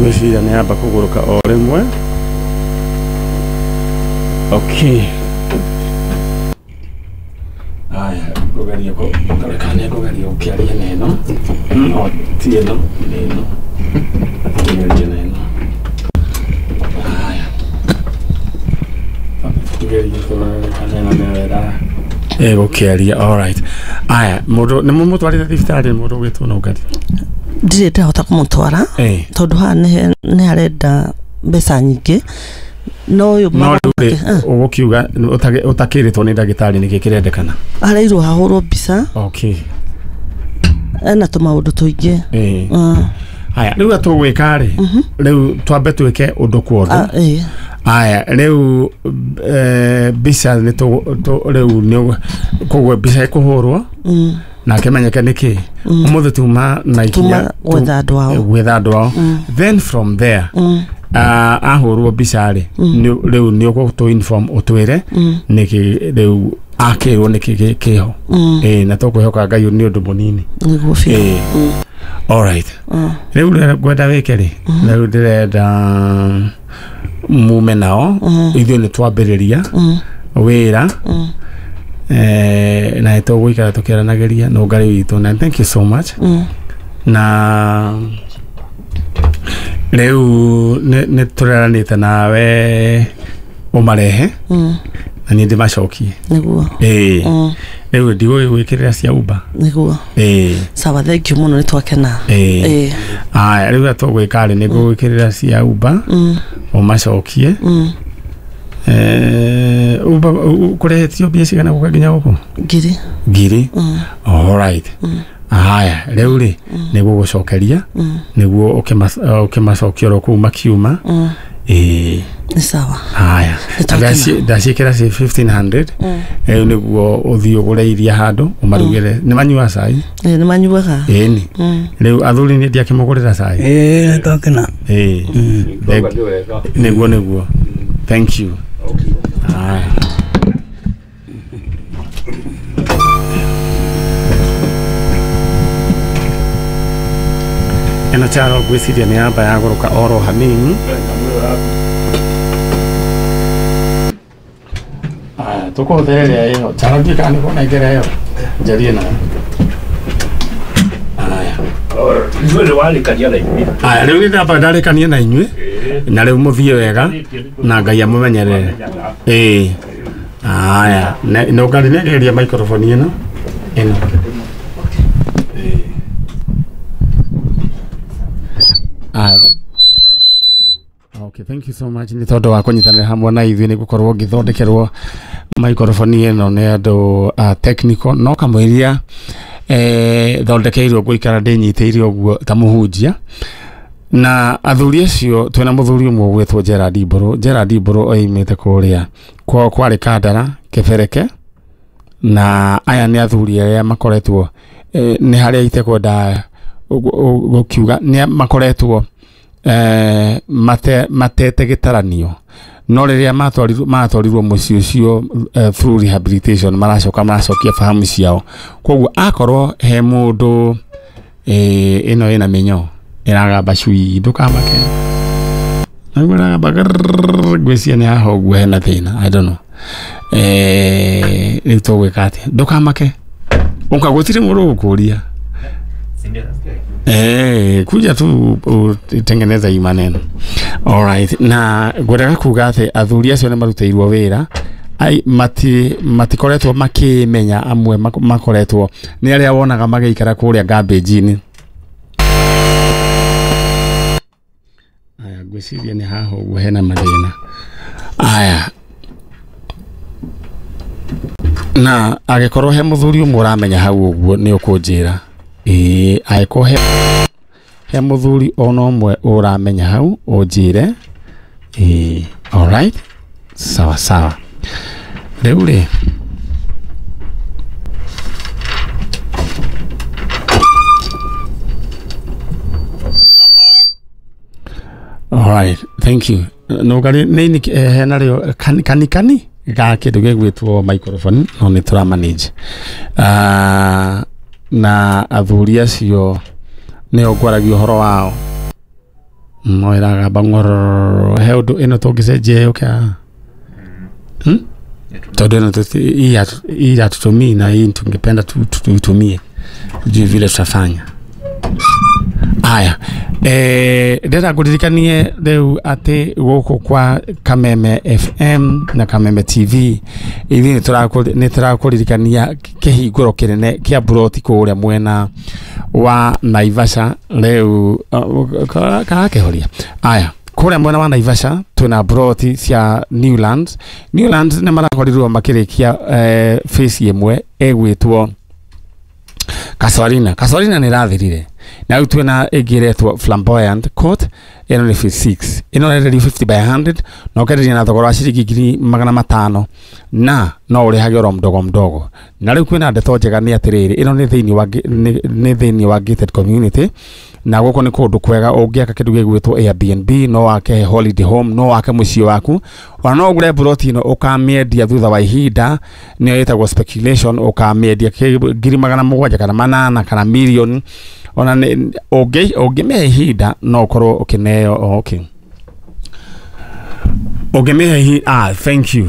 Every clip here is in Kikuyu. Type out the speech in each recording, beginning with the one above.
Ngwĩciria nĩ yamba kũgũrũka o rĩmwe. Okay. Aya, ngũgeria kũreka nĩ ngũgeria gũkĩaria na ĩno. O ti ĩno, nĩ ĩno. Ngũgeria na ĩno. Aya. Tũgerie kũrora kana ĩno nĩyo ĩra ĩgũkĩaria. Alright. Aya, mũndũ nĩ mũmũtwarĩte thibitarĩ mũndũ ũgwĩtwo Nũngari? Ndirĩ ndahota kũmũtwara tondũ haha nĩ harenda mbeca nyingĩ no ũyũ No rĩu rĩ, ũgũkiuga ũtakĩrĩtwo nĩ ndagĩtarĩ nĩkĩ kĩrendekana? Areirwo hahũrwo mbica. Okay. Ena tũmaũndũ tũingĩ. Haya, rĩu tũgwĩka rĩ, rĩu twambe twĩke ũndũ kwa ũndũ. Aya, rĩu mbica nĩ rĩu nĩ koguo mbica ĩkũhũrwo na kĩmenyeke nĩkĩ. Ũmũthĩ tuma na ikinya gwetha andũ ao. Gwetha andũ ao. Then from there ahũrwo mbica rĩ, rĩu nĩ ũgũtũ inform ũtwĩre nĩkĩ rĩu akĩrwo nĩkĩ kĩho. Na tũkwĩhoka Ngai nĩ ũndũ mũnini. Nĩguo biũ. Alright. Rĩu ngwenda wĩke rĩ, rĩu ndĩrenda mume nao ithuĩ nĩ twambĩrĩria wĩra na nĩ tũgũikara tũkĩaranagĩria na Ngai witũ, na thank you so much. Na rĩu nĩ tũreranĩte nawe ũmarehe na niĩ ndĩmacokie. Nĩguo. Rĩu ndigũgĩgwĩkĩrĩra cia Uber. Nĩguo. Sawa, thank you mũno, nĩ twakena. Aya, rĩu tũgwĩka rĩ, nĩ ngũgwĩkĩrĩra cia Uber ũmacokie. Uber kũrĩhĩtio mbia cigana gũka nginya gũkũ? Ngiri. Ngiri. Alright. Haya, rĩu rĩ nĩ gũgũcokeria nĩguo ũkĩmacokia oro kũu makiuma. Nĩ sawa. Haya, ndaciĩkĩra ci 1500 rĩu nĩguo ũthiĩ ũgũre iria handũ ũmarugĩre. Nĩ manyuaga cai? Nĩ manyuaga. Ĩni. Rĩu athuri nĩ ndiakĩmũgũrĩra cai? Nĩtwakena. Nĩguo nĩguo. Thank you. Haya. Ĩno Charo ngwĩciria nĩ yamba yagũrũka oro hanini. Aya, tũkũhũthĩra ĩrĩa ĩho. Charo ndiũĩ kana nĩ ũkũnengera ĩyo. Njarie nayo. Aya. Ithuĩ nĩ warĩkania na inyuĩ. Aya, rĩu nĩ ndamba ndarĩkania na inyuĩ na rĩu mũthiĩ wega na Ngai amũmenyerere. Aya, Nũngari nĩngeria microphone ĩno. Ĩno. Okay, thank you so much nĩ tondũ wa kũnyitanĩra hamwe na ithuĩ nĩ gũkorwo ngĩthondekerwo microphone ĩno nĩ andũ a technical no kamũiria thondekeirwo ngũikara ndĩnyitĩire ũguo ta mũhunjia. Na athuri acio twĩna mũthuri ũmwe ũgwĩtwo Gerald Mbũrũ. Gerald Mbũrũ oimĩte kũrĩa kwao kwarĩ Kandara Kĩbereke, na aya nĩ athuri arĩa makoretwo nĩ harĩa itekwenda gũkiuga nĩ makoretwo matete gĩtaranio, no rĩrĩa matwarirwo mũciĩ ũcio through rehabilitation maracoka maracokia fahamu ciao. Koguo akorwo he mũndũ ĩno ĩna mĩnyoo ĩragamba cui ndũkamake, naguo ĩragamba ngwĩciria nĩ haha ũguo hena thĩna, I don't know. Rĩu tũgwĩka atĩa? Ndũkamake, ũka gũtirĩ mũndũ ũgũkũria. Kuja tu utengeneza hii maneno. Alright, na ngwendaga kuga atĩ athuri acio nĩ marutĩirwo wĩra ai matikoretwo makĩmenya, amwe makoretwo nĩ arĩa wonaga magĩikara kũrĩa garbage-inĩ. Aya, ngwĩciria nĩ haha ũguo hena mathĩna. Aya, na angĩkorwo he mũthuri ũmwe ũramenya hau ũguo nĩ ũkũnjĩra. Angĩkorwo he mũthuri ona ũmwe ũramenya hau ũnjĩre. Alright, sawa sawa. Rĩu rĩ alright, thank you. Nũngari nĩ hena rĩo kanikani ga kĩndũ gĩgwĩtwo microphone no nĩ tũra manage. Na athuri acio nĩo ngwaragia ũhoro wao. No ĩragamba ng'ororo he ũndũ ĩno tũngĩcenjia yũke haha. Tondũ ĩno hii hatutumii na hii tungependa tuitumie, tujue vile tutafanya. Aya, ndĩrenda ngũririkanie rĩu atĩ gũkũ kwa Kameme FM na Kameme TV ithuĩ nĩ tũrakũririkania kĩhingũro kĩnene kĩa mburoti kũrĩa mwena wa Naivasha rĩu karakĩhoria. Aya, kũrĩa mwena wa Naivasha twĩna mburoti cia Newlands. Newlands nĩ marakorirwo makĩrĩkia phase ĩmwe ĩgwĩtwo Casuarina. Casuarina nĩ ĩrathirire na rĩu twĩna ĩngĩ ĩretwo Flamboyant Court, ĩno nĩ phase 6, ĩno ĩrenderio 50 by 100 na ũkenderia na thogora wa ciringi 500,000 na no ũrĩhage oro mdogo mdogo. Na rĩu kwĩna ndeto njega nĩ atĩrĩrĩ, ĩno nĩ thĩinĩ wa gated community, na gũkũ nĩ kũndũ kwega ũngĩaka kĩndũ gĩgwĩtwo Airbnb, no wake holiday home, no wake mũciĩ waku, ona no ũgũre mburoti ĩno ũkamĩendia thutha wa ihinda, nĩyo ĩtagwo speculation, ũkamĩendia 700,000 kana 800 kana mirioni. Ona ũngĩmĩhe ihinda no ũkorwo ũkĩneo. Okay, ũngĩmĩhe ihinda, thank you,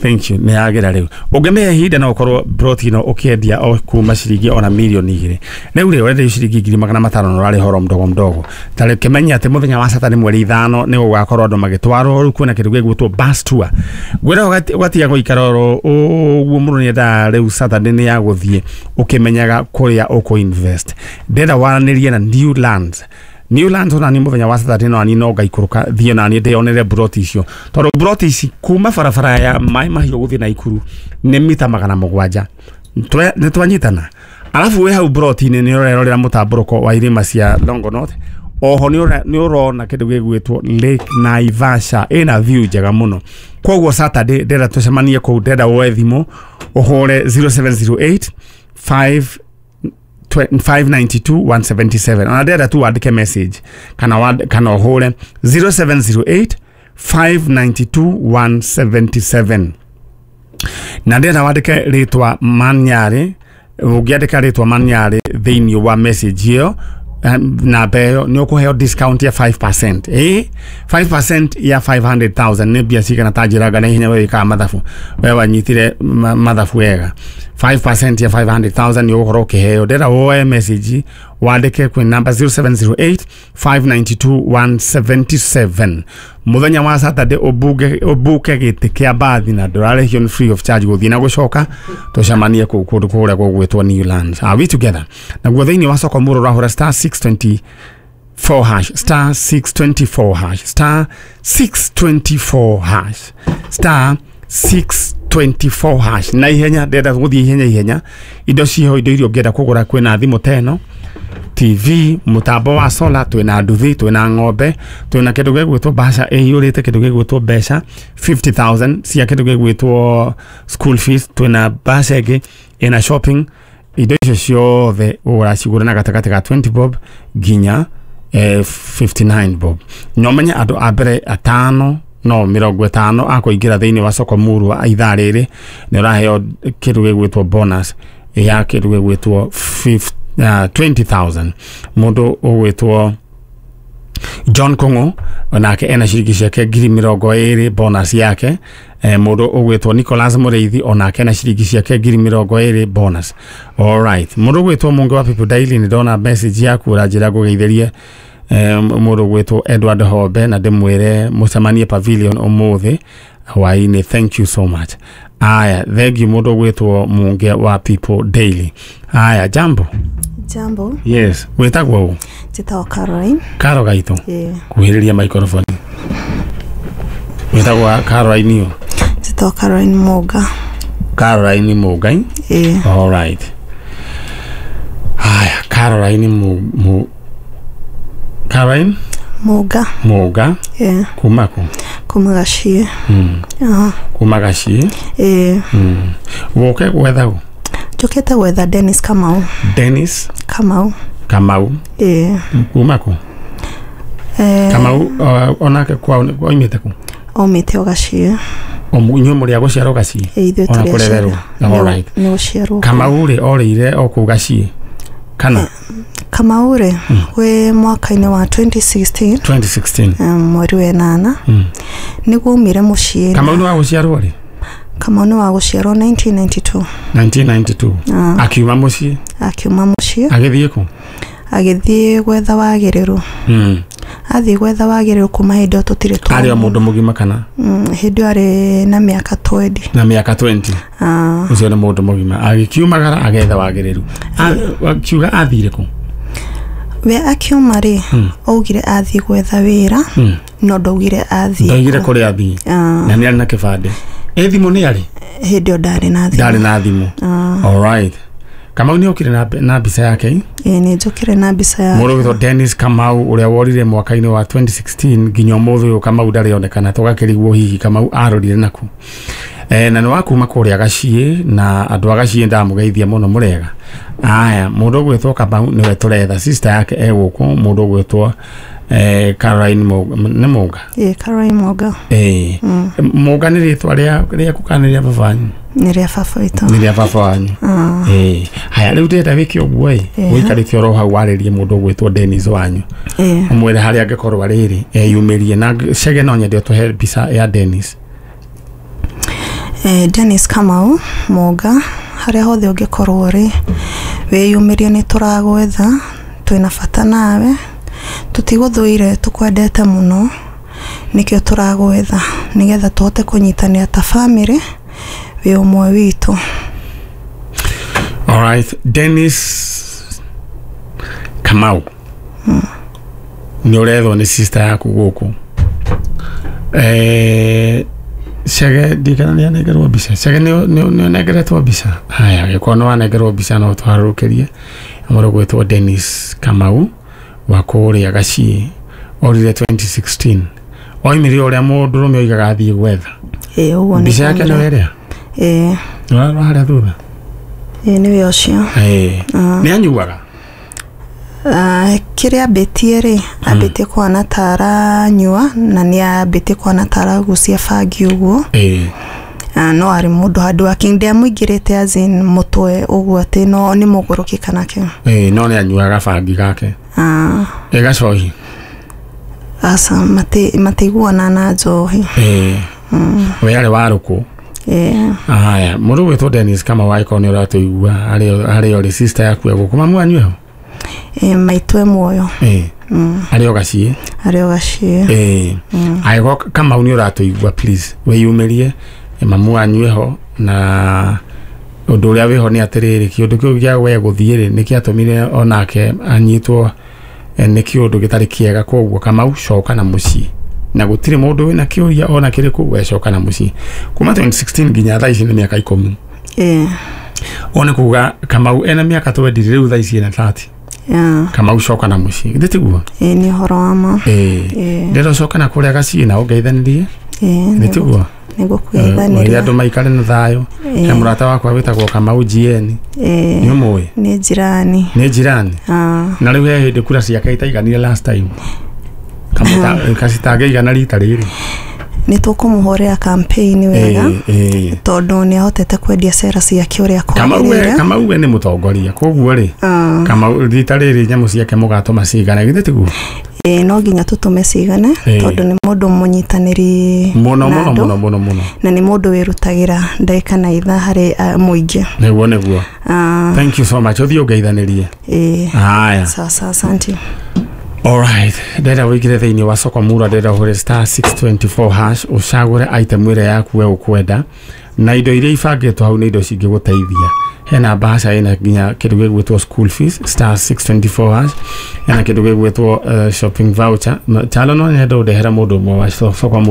thank you, nĩ yagĩra rĩu. Ũngĩmĩhe ihinda no ũkorwo mburoti ĩno ũkĩendia o kuma ciringi ona mirioni 2. Rĩu rĩ ũrenderio ciringi 500,000 na ũrarĩha oro mdogo mdogo. Ta rĩu kĩmenye atĩ mũthenya wa Saturday mweri 5 nĩ gũgakorwo andũ magĩtwarwo. Rĩu kwĩna kĩndũ gĩgwĩtwo bus tour, ngwĩra ũgatiga gũikara oro ũguo mũno, nĩendaga rĩu Saturday nĩ ya gũthiĩ ũkĩmenyaga kũrĩa ũkũ invest. Ndĩrenda waranĩrie na Newlands. Newlands ona ni mũthenya wa Saturday no ani no ngaikũrũka thiĩ na niĩ ndĩyonere mburoti icio, tondũ mburoti ici kuma barabara ya Maĩ Mahiũ gũthiĩ Naikuru nĩ mita 700. Nĩ twanyitana. Alafu wĩ hau mburoti-inĩ nĩ ũrerorera mũtambũrũko wa irĩma cia Longonot. Oho nĩ ũrona kĩndũ gĩgwĩtwo Lake Naivasha, ĩna view njega mũno. Koguo Saturday ndĩrenda tũcemanie kũu, ndĩrenda woe thimũ ũhũre 0708 5 592 177. Ona ndĩrenda tu wandĩke message kana ũhũre 0708 592 177. Na ndĩrenda wandĩke rĩtwa Manyarĩ. Ũngĩandĩka rĩtwa Manyarĩ thĩinĩ wa message ĩyo namba ĩyo nĩ ũkũheo discount ya 5%. 5% ya 500,000 nĩ mbia cigana? Ta njĩraga na ihenya, we wĩkaga mathabu, we wanyitire mathabu wega. 5% ya 500,000 nĩ ũgũkorwo ũkĩheo. Ndĩrenda woe message wandĩke kwĩ namba 0708 592 177. Mũthenya wa Saturday ũbuke gĩtĩ kĩa mbathi na ndũrarĩhio, nĩ free of charge gũthiĩ na gũcoka. Tũcemanie kũu kũndũ kũrĩa gũgwĩtwo Newlands. Are we together? Naguo thĩinĩ wa soko mũrũ ũrahũra star 624 hash, star 624 hash, star 624 hash, star 624 hash. Na ihenya, ndĩrenda gũthiĩ ihenya ihenya. Indo ciho, indo iria ũngĩenda kũgũra, kwĩna thimũ ta ĩno, TV, mũtambo wa solar, twĩna nduthi, twĩna ng'ombe, twĩna kĩndũ gĩgwĩtwo bahasha ĩiyũrĩte kĩndũ gĩgwĩtwo mbeca 50,000 cia kĩndũ gĩgwĩtwo school fees, twĩna bahasha ĩngĩ ĩna shopping. Indo icio ciothe ũracigũra na gatagatĩ ka 20 bob nginya 59 bob. No menye andũ a mbere atano no 50 akũingĩra thĩinĩ wa soko muru wa ithaa rĩrĩ nĩ ũraheo kĩndũ gĩgwĩtwo bonus ya kĩndũ gĩgwĩtwo 20,000. Mũndũ ũgwĩtwo John Kongo onake ena ciringi ciake 20,000 bonus yake. Mũndũ ũgwĩtwo Nicholas Mũrĩithi onake ena ciringi ciake 20,000 bonus. All right, mũndũ ũgwĩtwo Mũngĩ wa People Daily, nĩ ndona message yaku ũranjĩra ngũgeithĩrie mũndũ ũgwĩtwo Edward Hobe na ndĩmwĩre mũcemanie Pavilion ũmũthĩ hwaĩ-inĩ. Thank you so much. Aya, thank you mũndũ ũgwĩtwo Mũngĩ wa People Daily. Aya, jambo. Jambo. Yes, wĩtagwo ũ? Njĩtagwo Caroline. Karo gaitũ. Yeah. Kuhĩrĩria microphone. Wĩtagwo Caroline ũ? Njĩtagwo Caroline Mũnga. Caroline Mũnga. Yeah. All right. Aya, Caroline Caroline Mũnga. Mũnga. Yeah. Kuma kũ? Kuma Gaciĩ. Kuma Gaciĩ. Yeah. Woke gwetha ũ? Njũkĩte gwetha Dennis Kamau. Dennis Kamau. Kamau. Yeah. Kuma kũ? Kamau onake kwao oimĩte kũ? Aumĩte o Gaciĩ. Inyuĩ mũrĩ a gũciarwo Gaciĩ? Ithuĩ Ona tũrĩ kũrererwo. aciarwo. All right. Nĩ gũciarwo. Kamau rĩ orĩire o kũu Gaciĩ kana? Kamau rĩ wĩ mwaka-inĩ wa 2016 mweri wa 8 nĩguo aumire mũciĩ. Kamau nĩ wa gũciarwo rĩ? Kamau nĩ wa gũciarwo 1992. 1992. Akiuma mũciĩ? Akiuma mũciĩ. Agĩthiĩ kũ? Agĩthiĩ gwetha wagĩrĩru. Athiĩ gwetha wagĩrĩru kuma hĩndĩ ĩyo tũtirĩ twa. Arĩ o mũndũ mũgima kana? Hĩndĩ ĩyo arĩ na mĩaka 20. Na mĩaka 20. Ũcio nĩ mũndũ mũgima. Agĩkiumagara agetha wagĩrĩru. Akiuga athire kũ? We akiuma rĩ, augire athiĩ gwetha wĩra, no ndaugire athiĩ. Ndaugire kũrĩa athiĩ. Na nĩ arĩ na kĩbandĩ. Ĩ thimũ nĩ arĩ? Hĩndĩ ĩyo ndarĩ na thimũ. Ndarĩ na thimũ. All right. Kamau nĩ okire na mbica yake? Ĩĩ nĩ njũkire na mbica yake. Mũndũ wĩtwo Dennis Kamau ũrĩa worire mwaka-inĩ wa 2016 nginya ũmũthĩ ũyũ Kamau ndarĩ onekana, tũgakĩrigwo hihi Kamau arorire naku. Na nĩ wa kuma kũrĩa Gaciĩ, na andũ a Gaciĩ ndamũgeithia mũno mũrega. Aya, mũndũ ũgwĩtwo Kamau nĩwe tũretha, sister yake e gũkũ, mũndũ ũgwĩtwo Caroline nĩ Mũnga? Ĩĩ, Caroline Mũnga. Ĩĩ. Mũnga nĩ rĩtwa rĩaku kana nĩ rĩa baba wanyu? Nĩ rĩa baba witũ. Nĩ rĩa baba wanyu. Ĩĩ. Haya, rĩu ndĩrenda wĩke ũguo ĩ, ũikarĩte oro hau warĩrie mũndũ ũgwĩtwo Dennis wanyu. Ũmwĩre harĩa angĩkorwo arĩ rĩ, eyumĩrie. Na Chege no nyende ũtũhe mbica ya Dennis. Dennis Kamau Mũnga, harĩa hothe ũngĩkorwo rĩ, wĩyumĩrie, nĩ tũragwetha, twĩna bata nawe, tũtigũthũire, tũkwendete mũno, nĩkĩo tũragwetha, nĩgetha tũhote kũnyitanĩra ta bamĩrĩ, wĩ ũmwe witũ. All right, Dennis Kamau nĩ ũrethwo nĩ sister yaku gũkũ. Chege ndikana nĩ anengerwo mbica. Chege nĩ ũnengeretwo mbica? Haya, angĩkorwo nĩ wanengerwo mbica no tũharũrũkĩrie. Mũndũ ũgwĩtwo Dennis Kamau wa kũrĩa Gaciĩ, orire 2016. Oimire ũrĩa mũndũrũme oigaga athiĩ gwetha. Ĩĩ, ũguo nĩ. Mbica yake nĩwe ĩrĩa? Ĩĩ. Nĩũrarora harĩa thutha? Ĩĩ, nĩwe ũcio. Ĩĩ. Nĩ anyuaga? Kĩrĩa ambĩtie rĩ, ambĩtie kũhana ta aranyua, na nĩ ambĩtie kũhana ta aragucia bangi ũguo. Ĩĩ. No arĩ mũndũ handũ wake, ndiamũingĩrĩte as in mũtwe ũguo atĩ no nĩ mũgũrũki kana kĩ. Ĩĩ, no nĩ anyuaga bangi gake. Ĩ gacohi? Aca, matiguana na njohi. Ĩĩ. We arĩ wa rũkũ? Ĩĩ. Haya, mũndũ ũgwĩtwo Dennis Kamau angĩkorwo nĩ ũratũigua harĩa ũrĩ, sister yaku e gũkũ, mamu wanyu eho? Ĩĩ, maitũ e muoyo. Ĩĩ. Arĩ o Gaciĩ? Arĩ o Gaciĩ. Ĩĩ. Angĩkorwo Kamau nĩ ũratũigua, please wĩyumĩrie, mamu wanyu eho, na ũndũ ũrĩa wĩho nĩ atĩrĩrĩ, kĩũndũ kĩu gĩa we gũthiĩ rĩ, nĩ kĩatũmire onake anyitwo nĩ kĩũndũ gĩtarĩ kĩega, koguo Kamau coka na mũciĩ. Na gũtirĩ mũndũ wĩna kĩũria ona kĩrĩkũ, we coka na mũciĩ. Kuma 2016 nginya thaa ici nĩ mĩaka 10. Ĩĩ. Ũũ nĩ kuga Kamau ena mĩaka 20 rĩu thaa ici ena 30. Kamau coka na mũciĩ. Githĩ tiguo? Ĩĩ, nĩ ũhoro wa ma. Ĩĩ. Ndĩrenda ũcoke na kũrĩa Gaciĩ na ũngeithanĩrie. Ĩĩ. Githĩ tiguo? Nĩgũkũgeithanĩria. Andũ maikare na thayũ. He mũrata wakwa wĩtagwo Kamau GN. Nĩ ũmũĩ? Nĩ jirani. Nĩ jirani? Na rĩu he hĩndĩ kura ciake itaiganire last time. Kacitangĩigana rita rĩrĩ. Nĩ tũkũmũhũrĩra campaign wega, tondũ nĩ ahotete kwendia cera ciake ũrĩa kwagĩrĩire. Kamau we nĩ mũtongoria, koguo rĩ, Kamau rita rĩrĩ nyamũ ciake mũgatũma cigane, githĩ tiguo? Ĩĩ, no nginya tũtũme cigane, tondũ nĩ mũndũ mũnyitanĩri mũno mũno mũno mũno mũno, na nĩ mũndũ wĩrutagĩra ndagĩka na ithaa harĩ mũingĩ. Nĩguo nĩguo. Thank you so much. Ũthiĩ ũngeithanĩrie. Ĩĩ. Haya. Sawa, asante. All right, ndĩrenda wĩingĩre thĩinĩ wa soko mura, ndĩrenda ũhũre star 624 hash, ũcagũre item ĩrĩa yaku we ũkwenda, na indo iria ibangĩtwo hau nĩ indo cingĩgũteithia. Hena bahasha ĩna nginya kĩndũ gĩgwĩtwo school fees, star 624 hash, hena kĩndũ gĩgwĩtwo shopping voucher. Chalo no nyende ũndehera mũndũ ũmwe wa soko.